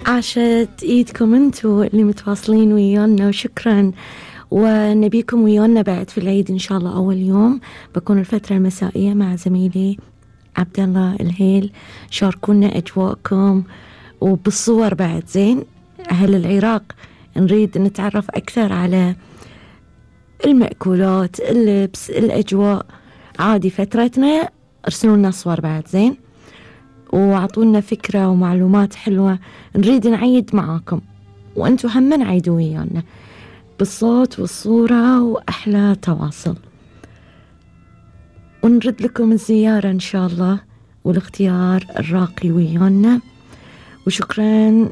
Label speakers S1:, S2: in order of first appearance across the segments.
S1: عاشت ايدكم انتوا اللي متواصلين ويانا وشكرا. ونبيكم ويانا بعد في العيد ان شاء الله. اول يوم بكون الفترة المسائية مع زميلي عبد الله الهيل. شاركونا اجواءكم وبالصور بعد. زين اهل العراق نريد نتعرف اكثر على المأكولات، اللبس، الاجواء. عادي فترتنا ارسلوا لنا صور بعد. زين وعطونا فكرة ومعلومات حلوة نريد نعيد معاكم، وانتو هم عيدوا ويانا بالصوت والصورة وأحلى تواصل. ونرد لكم الزيارة إن شاء الله والاختيار الراقي ويانا. وشكرا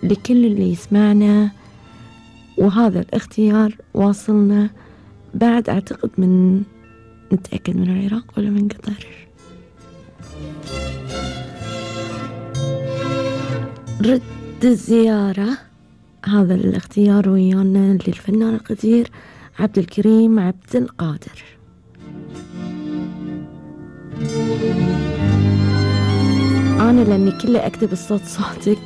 S1: لكل اللي يسمعنا، وهذا الاختيار واصلنا بعد أعتقد من نتأكد من العراق ولا من قطر. رد الزيارة هذا الاختيار ويانا للفنان القدير عبد الكريم عبد القادر. أنا لأني كله أكتب الصوت صوتك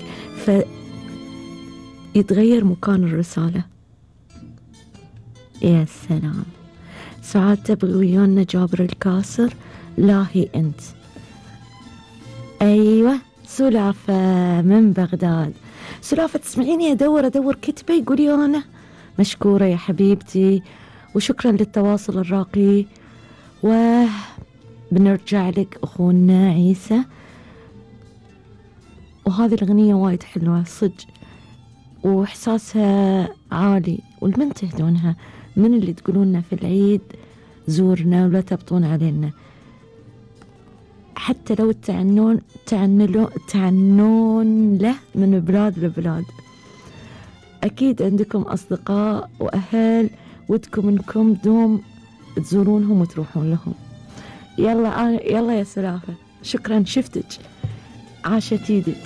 S1: فيتغير مكان الرسالة. يا سلام. سعاد تبغي ويانا جابر الكاسر لاهي أنت. أيوة سلافة من بغداد. سلافة تسمعيني أدور كتبة يقولي أنا مشكورة يا حبيبتي، وشكرا للتواصل الراقي. وبنرجع لك أخونا عيسى. وهذه الأغنية وايد حلوة صدق وإحساسها عالي، والمن تهدونها من اللي تقولوننا في العيد زورنا ولا تبطون علينا. حتى لو تعنون له من بلاد لبلاد. أكيد عندكم أصدقاء وأهل ودكم إنكم دوم تزورونهم وتروحون لهم. يلا يا سلافة شكرا شفتك عاشت ايدك.